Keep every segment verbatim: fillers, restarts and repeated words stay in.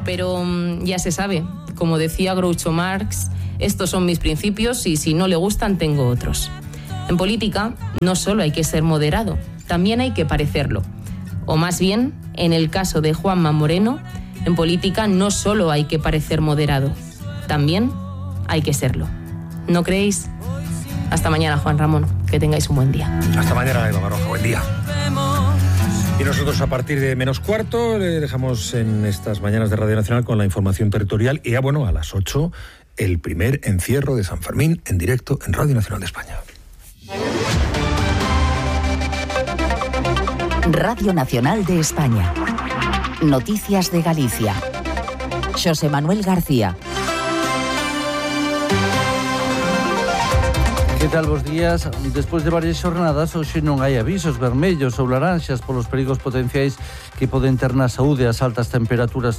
Pero um, ya se sabe, como decía Groucho Marx, estos son mis principios y si no le gustan tengo otros. En política no solo hay que ser moderado, también hay que parecerlo. O más bien, en el caso de Juanma Moreno, en política no solo hay que parecer moderado, también hay que serlo. ¿No creéis? Hasta mañana, Juan Ramón. Que tengáis un buen día. Hasta mañana, Eva Baroja. Buen día. Y nosotros a partir de menos cuarto le dejamos en estas mañanas de Radio Nacional con la información territorial y ya bueno, a las ocho el primer encierro de San Fermín en directo en Radio Nacional de España. Radio Nacional de España. Noticias de Galicia. Xosé Manuel García. Que tal, bos días? Despois de varias xornadas, hoxe non hai avisos vermellos ou laranxas polos perigos potenciais que poden ter na saúde as altas temperaturas.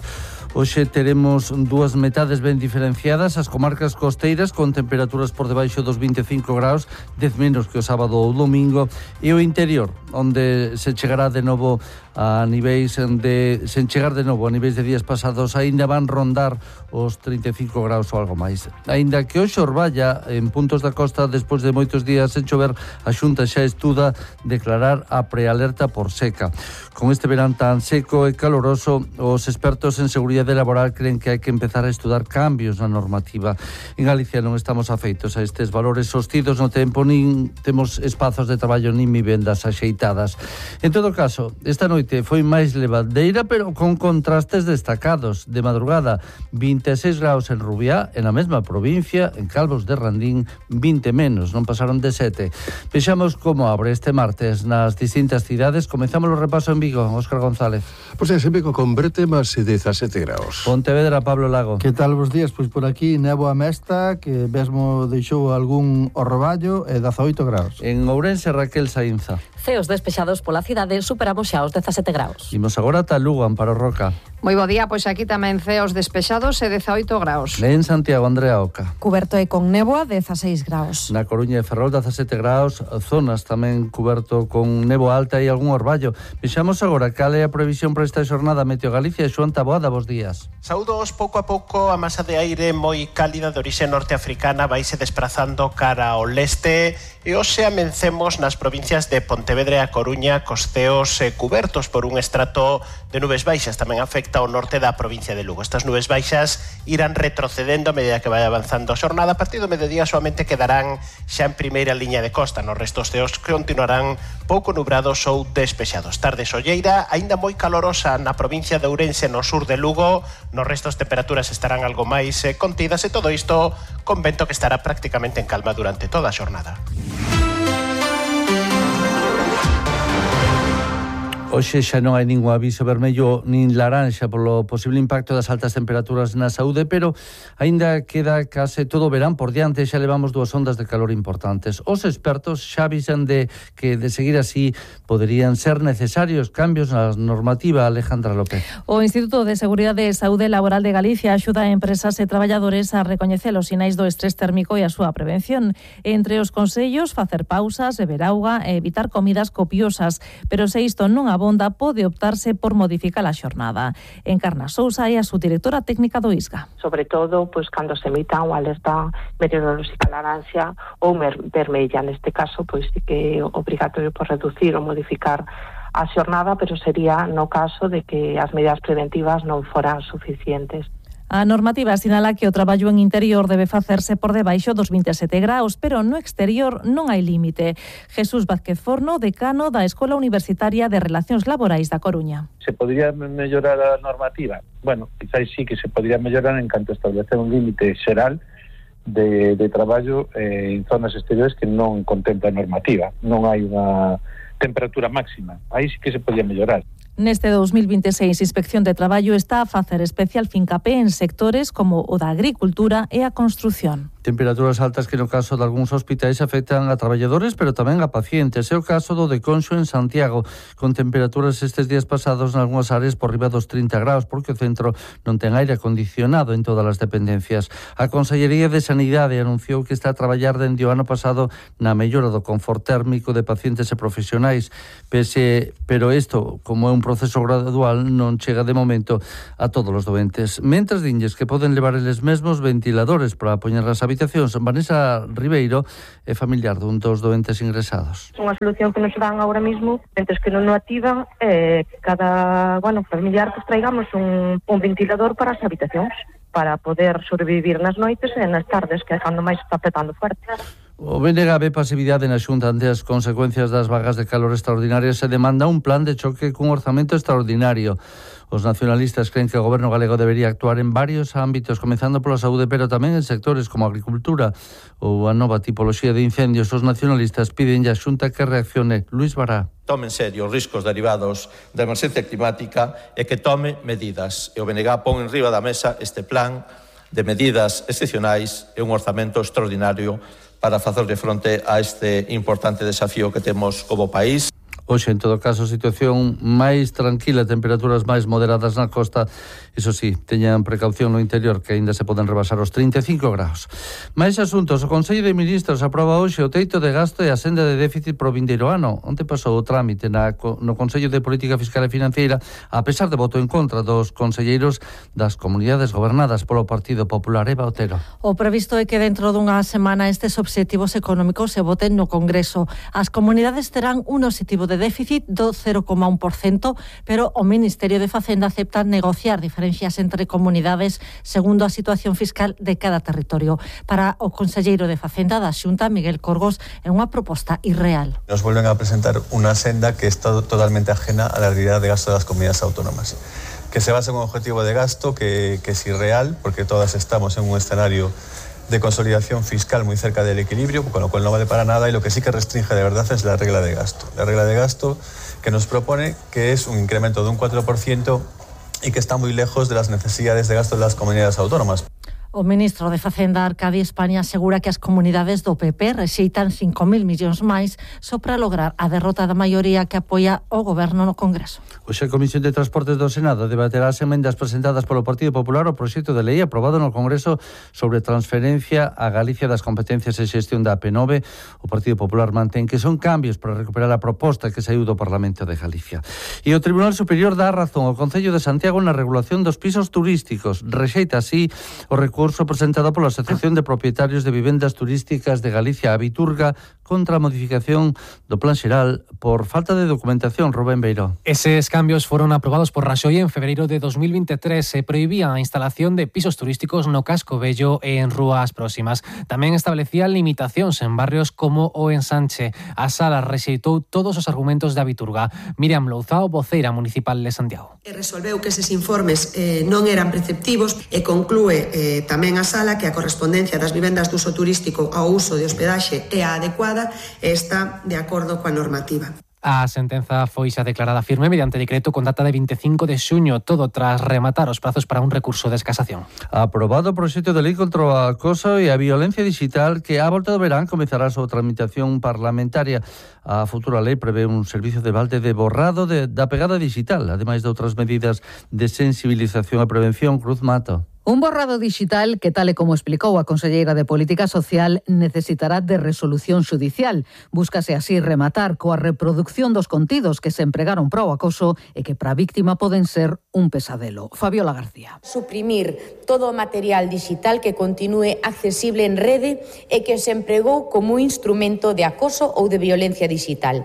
Hoxe teremos dúas metades ben diferenciadas, as comarcas costeiras con temperaturas por debaixo dos vinte e cinco graus, dez menos que o sábado ou domingo, e o interior, onde se chegará de novo a niveis de sen chegar de novo a niveis de días pasados, aínda van rondar os trinta e cinco graus ou algo máis. Aínda que hoxe Orballa, en puntos da costa, despois de moitos días sen chover, a Xunta xa estuda declarar a prealerta por seca. Con este verán tan seco e caloroso, os expertos en seguridade laboral creen que hai que empezar a estudar cambios na normativa. En Galicia non estamos afeitos a estes valores sostidos no tempo, nin temos espazos de traballo nin vivendas axeitadas. En todo caso, esta noite foi máis levadeira, pero con contrastes destacados. De madrugada, vinte e seis graus en Rubiá, en a mesma provincia, en Calvos de Randín, vinte menos, non pasaron de sete. Vexamos como abre este martes nas distintas cidades. Comezamos o repaso en Vigo, Óscar González. Pois é, en Vigo converte máis dezasete graus. Pontevedra, Pablo Lago. Que tal vos días? Pois por aquí néboa mesta, que mesmo deixou algún orroballo, e dezaoito graus. En Ourense, Raquel Saínza. Ceos despexados pola cidade, superamos xa os dezasete graus. Imos agora ata Lugo, Amparo Roca. Moi bo día, pois aquí tamén ceos despexados e dezaoito graus. En Santiago, Andrea Oca. Cuberto e con néboa, dezaseis graus. Na Coruña e Ferrol, dezasete graus, zonas tamén cuberto con néboa alta e algún orballo. Vexamos agora cal é a previsión para esta xornada Meteo Galicia. Xoan Taboada, bos días. Saúdos, pouco a pouco a masa de aire moi cálida de orixe norteafricana vaise desplazando cara ao leste e hoxe amencemos nas provincias de Pontevedra e a Coruña cos ceos eh, cubertos por un estrato de nubes baixas. Tamén afecta ao norte da provincia de Lugo. Estas nubes baixas irán retrocedendo a medida que vai avanzando a xornada. A partir do mediodía solamente quedarán xa en primeira liña de costa. Nos restos ceos continuarán pouco nubrados ou despexados. Tarde solleira, aínda moi calorosa na provincia de Ourense, no sur de Lugo. Nos restos temperaturas estarán algo máis eh, contidas e todo isto con vento que estará prácticamente en calma durante toda a xornada. Hoxe xa non hai ningún aviso vermello nin laranxa polo posible impacto das altas temperaturas na saúde, pero aínda queda case todo o verán por diante, xa levamos dúas ondas de calor importantes. Os expertos xa avisan de que de seguir así poderían ser necesarios cambios na normativa. Alejandra López. O Instituto de Seguridade e Saúde Laboral de Galicia axuda a empresas e traballadores a recoñecer os sinais do estrés térmico e a súa prevención. Entre os consellos, facer pausas, beber auga e evitar comidas copiosas, pero se isto non abonda, pode optarse por modificar a xornada. Encarna Sousa é a subdirectora técnica do I S G A. Sobre todo, pois cando se emita unha alerta meteorolóxica laranxa ou vermella, neste caso, pois sí que é obrigatorio por reducir ou modificar a xornada, pero sería no caso de que as medidas preventivas non foran suficientes. A normativa sinala que o traballo en interior debe facerse por debaixo dos vinte e sete graus, pero no exterior non hai límite. Jesús Vázquez Forno, decano da Escola Universitaria de Relacións Laborais da Coruña. Se podría mellorar a normativa? Bueno, quizás sí que se podría mellorar en canto a establecer un límite xeral de, de traballo eh, en zonas exteriores que non contempla a normativa. Non hai unha temperatura máxima. Aí sí que se podría mellorar. Neste dos mil vinte e seis, Inspección de Traballo está a facer especial fincapé en sectores como o da agricultura e a construción. Temperaturas altas que no caso de algúns hospitais afectan a traballadores, pero tamén a pacientes. É o caso do de Conxo en Santiago, con temperaturas estes días pasados nalgúnas áreas por riba dos trinta graus, porque o centro non ten aire acondicionado en todas as dependencias. A Consellería de Sanidade anunciou que está a traballar dende o ano pasado na mellora do confort térmico de pacientes e profesionais, pese, pero isto, como é un proceso gradual, non chega de momento a todos os doentes. Mentres dinlles que poden levar eles mesmos ventiladores para poñer as habitacións. Vanessa Ribeiro é familiar dun dos doentes ingresados. Unha solución que nos dan agora mesmo, mentres que non o activan, é cada, bueno, familiar que traigamos un, un ventilador para as habitacións, para poder sobrevivir nas noites e nas tardes, que é cando máis está petando fuerte. O B N G ve pasividade na Xunta ante as consecuencias das vagas de calor extraordinarias e demanda un plan de choque cun orzamento extraordinario. Os nacionalistas creen que o goberno galego debería actuar en varios ámbitos, comezando pola saúde, pero tamén en sectores como a agricultura ou a nova tipoloxía de incendios. Os nacionalistas piden a Xunta que reaccione. Luis Bará. Tome en serio os riscos derivados da emerxencia climática e que tome medidas. E o B N G pon en riba da mesa este plan de medidas excepcionais e un orzamento extraordinario para facerle fronte a este importante desafío que temos como país. Hoxe, en todo caso, situación máis tranquila, temperaturas máis moderadas na costa. Iso sí, teñan precaución no interior, que aínda se poden rebasar os trinta e cinco graus. Máis asuntos. O Consello de Ministros aproba hoxe o teito de gasto e a senda de déficit pro vindeiro ano. Onte pasou o trámite na, no Consello de Política Fiscal e Financeira, a pesar de voto en contra dos conselleiros das comunidades gobernadas polo Partido Popular. Eva Otero. O previsto é que dentro dunha semana estes obxectivos económicos se voten no Congreso. As comunidades terán un obxectivo de déficit do cero coma un por cento, pero o Ministerio de Facenda acepta negociar diferencias entre comunidades segundo a situación fiscal de cada territorio. Para o conselleiro de Facenda da Xunta, Miguel Corgos, é unha proposta irreal. Nos vuelven a presentar unha senda que está totalmente ajena a la realidad de gasto das comunidades autónomas, que se basa en un objetivo de gasto que, que es irreal, porque todas estamos en un escenario de consolidación fiscal muy cerca del equilibrio, con lo cual no vale para nada, y lo que sí que restringe de verdad es la regla de gasto. La regla de gasto que nos propone que es un incremento de un cuatro por ciento y que está muy lejos de las necesidades de gasto de las comunidades autónomas. O ministro de Facenda, Arcadi España, asegura que as comunidades do P P rexeitan cinco mil millóns máis só para lograr a derrota da maioría que apoia o goberno no Congreso. Hoxe a Comisión de Transportes do Senado debaterá as emendas presentadas polo Partido Popular ao proxecto de lei aprobado no Congreso sobre transferencia a Galicia das competencias e xestión da A P nove. O Partido Popular mantén que son cambios para recuperar a proposta que saiu do Parlamento de Galicia. E o Tribunal Superior dá razón ao Concello de Santiago na regulación dos pisos turísticos. Rexeita así o recurso presentado pola Asociación de Propietarios de Vivendas Turísticas de Galicia, a Viturga, contra a modificación do Plan Xeral por falta de documentación. Rubén Beiró. Eses cambios foron aprobados por Raxoi en febreiro de dos mil veintitrés. Se prohibía a instalación de pisos turísticos no Casco Vello e en rúas próximas. Tamén establecía limitacións en barrios como o Ensanche. A Sala rexeitou todos os argumentos da Viturga. Miriam Louzao, voceira municipal de Santiago. E resolveu que eses informes eh, non eran preceptivos e conclúe eh, tamén a Sala que a correspondencia das vivendas de uso turístico ao uso de hospedaxe é a adecuada e está de acordo coa normativa. A sentenza foi xa declarada firme mediante decreto con data de veinticinco de xuño, todo tras rematar os prazos para un recurso de escasación. Aprobado o proxecto de lei contra o acoso e a violencia digital que á volta do verán comezará a súa tramitación parlamentaria. A futura lei prevé un servizo de balde de borrado de, da pegada digital, ademais de outras medidas de sensibilización e prevención. Cruz Mato. Un borrado digital que, tal e como explicou a conselleira de Política Social, necesitará de resolución xudicial. Búscase así rematar coa reproducción dos contidos que se empregaron para o acoso e que para a víctima poden ser un pesadelo. Fabiola García. Suprimir todo o material digital que continúe accesible en rede e que se empregou como un instrumento de acoso ou de violencia digital.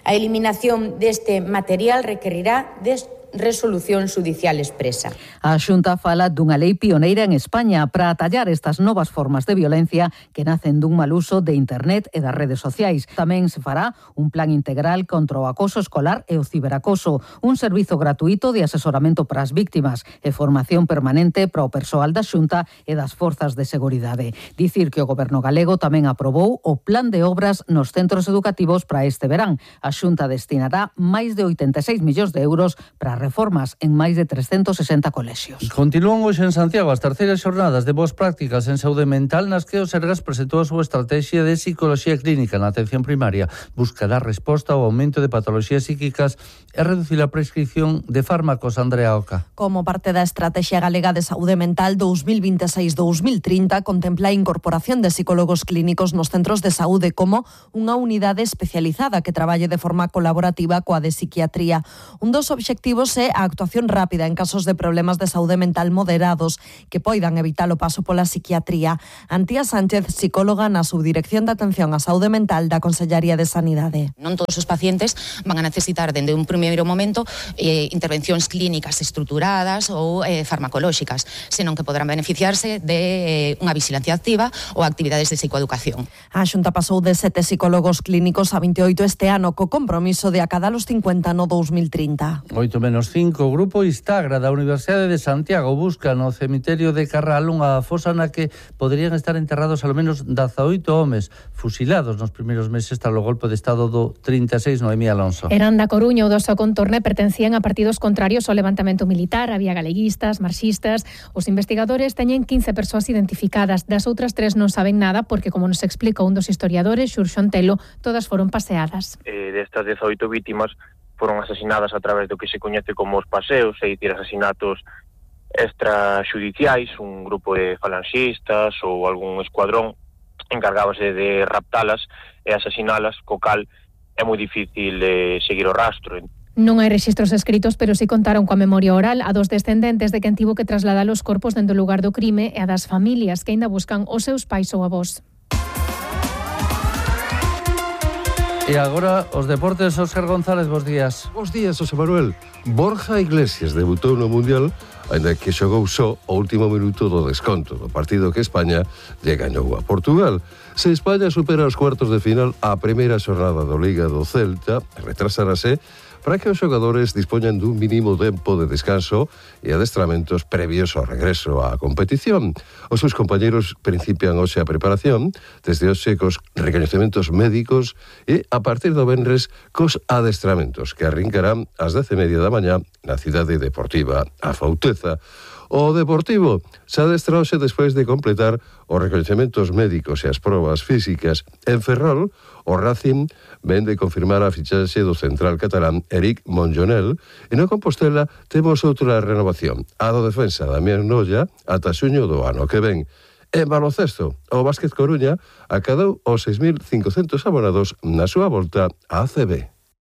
A eliminación deste material requerirá de resolución xudicial expresa. A Xunta fala dunha lei pioneira en España para atallar estas novas formas de violencia que nacen dun mal uso de internet e das redes sociais. Tamén se fará un plan integral contra o acoso escolar e o ciberacoso, un servizo gratuito de asesoramento para as víctimas e formación permanente para o persoal da Xunta e das forzas de seguridade. Dicir que o Goberno galego tamén aprobou o plan de obras nos centros educativos para este verán. A Xunta destinará máis de oitenta e seis millóns de euros para reformas en máis de trescentos sesenta colexios. Continúan hoxe en Santiago as terceiras xornadas de boas prácticas en saúde mental nas que o Sergas presentou a súa estrategia de psicoloxía clínica na atención primaria. Buscará resposta ao aumento de patoloxías psíquicas e reducir a prescripción de fármacos. Andrea Oca. Como parte da Estrategia Galega de Saúde Mental dos mil vinte e seis a dos mil trinta, contempla a incorporación de psicólogos clínicos nos centros de saúde como unha unidade especializada que traballe de forma colaborativa coa de psiquiatría. Un dos obxectivos é a actuación rápida en casos de problemas de saúde mental moderados que poidan evitar o paso pola psiquiatría. Antía Sánchez, psicóloga na Subdirección de Atención á Saúde Mental da Consellería de Sanidade. Non todos os pacientes van a necesitar dende un primeiro momento eh, intervencións clínicas estruturadas ou eh, farmacolóxicas, senón que poderán beneficiarse de eh, unha vigilancia activa ou actividades de psicoeducación. A Xunta pasou de sete psicólogos clínicos a veintioito este ano co compromiso de acadar os cincuenta no dos mil trinta. oito menos cinco, o Grupo Istagra da Universidade de Santiago busca no cemiterio de Carral unha fosa na que poderían estar enterrados ao menos dezaoito homes fusilados nos primeiros meses tras o golpe de estado do trinta e seis. Noemí Alonso. Eran da Coruña ou do seu contorno e pertencían a partidos contrarios ao levantamento militar. Había galeguistas, marxistas. Os investigadores teñen quince persoas identificadas. Das outras tres non saben nada porque, como nos explica un dos historiadores, Xurxo Antelo, todas foron paseadas. Eh, destas dezaoito vítimas foron asasinadas a través do que se coñece como os paseos, é dicir, asasinatos extrajudiciais, un grupo de falanxistas ou algún escuadrón encargábase de raptalas e asasinalas, co cal é moi difícil de seguir o rastro. Non hai rexistros escritos, pero si contaron coa memoria oral a dos descendentes de quen tivo que trasladar os corpos dende o lugar do crime e a das familias que aínda buscan os seus pais ou avós. E agora os deportes, Óscar González, bos días. Bos días, José Manuel. Borja Iglesias debutou no Mundial, ainda que xogou só o último minuto do desconto do partido que España lle gañou a Portugal. Se España supera os cuartos de final, a primeira xornada do Liga do Celta retrasarase para que os xogadores dispoñan dun mínimo tempo de descanso e adestramentos previos ao regreso á competición. Os seus compañeros principian hoxe a preparación, desde hoxe cos recoñecementos médicos e a partir do venres cos adestramentos que arrincarán ás dez e media da mañá na cidade deportiva A Fauteza. O Deportivo se adestra hoxe despois de completar os recoñecementos médicos e as probas físicas. En Ferrol, o Racing ven de confirmar a fichaxe do central catalán Eric Monjonel e no Compostela temos outra renovación, a do defensa Damián Nolla ata xuño do ano que ven. En baloncesto, o Básquet Coruña acadou os seis mil cincocentos abonados na súa volta á A C B.